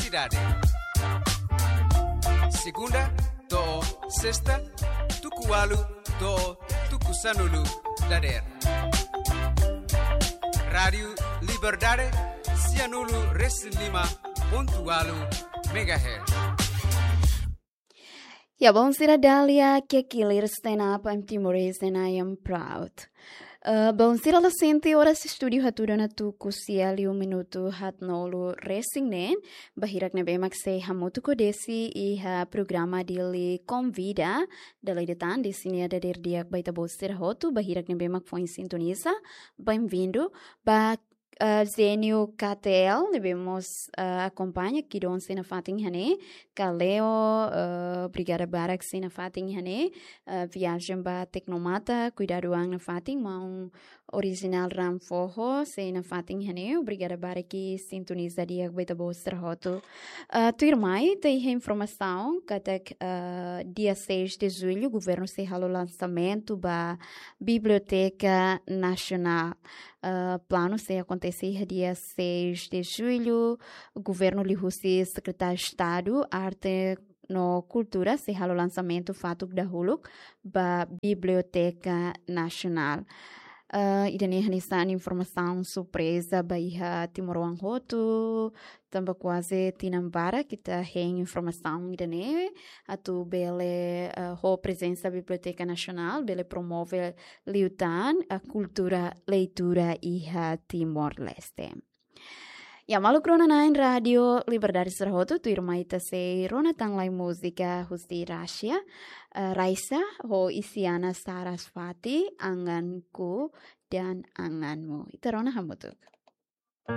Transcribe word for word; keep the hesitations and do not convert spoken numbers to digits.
Liberdade. Segunda to'o sesta, tuku ualu to'o tuku sanulu dadeer. Rádiu Liberdade, sianulu resin lima pontu ualu megahertz. Ya, bainhira Dália Kekilir, stand up, I'm Timorese and I am proud. Eh, bainhira la sente, oras estúdiu hatudu ona tuku sia liu minutu haatnulu resin neen, ba hirak ne'ebé mak sei hamutuk ho Desi iha programa Dili Konvida, dala ida tan, Desi nia dadeer di'ak ba ita-boot sira hotu, ba hirak ne'ebé mak foin sintoniza, bem-vindo, ba eh, Zénio K T L, ne'ebé mós, eh, akompaña, kidon sei nafatin iha ne'e, Kaleo, eh, obrigada barak sei nafatin iha ne'e, eh, viajen ba Tecnomata, kuidadu an nafatin, maun Original Ram Foho sei nafatin iha ne'e, obrigada barak sintoniza di'ak ba ita-boot sira hotu. Eh, tuirmai, ita iha informasaun, katak, eh, dia seis de julho, governu sei halo lansamentu ba Biblioteka Nasionál. Eh, planu sei akontese iha dia seis de julho, governu liuhusi Sekretáriu Estadu Arte no Kultura sei halo lansamentu fatuk dahuluk ba Biblioteka Nasionál. Eh, ida-ne'e hanesan informasaun surpreza ba iha timoroan hotu, tanba kuaze tinan barak ita hein informasaun ida-ne'e, atu bele, eh, ho prezensa Biblioteka Nasionál, bele promove liután a kultura leitura iha Timor-Leste. Ya, maluk rona-na'in Rádiu Liberdade sira hotu, tuirmai ita sei rona tan lai múzika husi Rúsia, eh, Raisa ho Isyana Sarasvati, Anganku dan Anganmu. Ita rona hamutuk.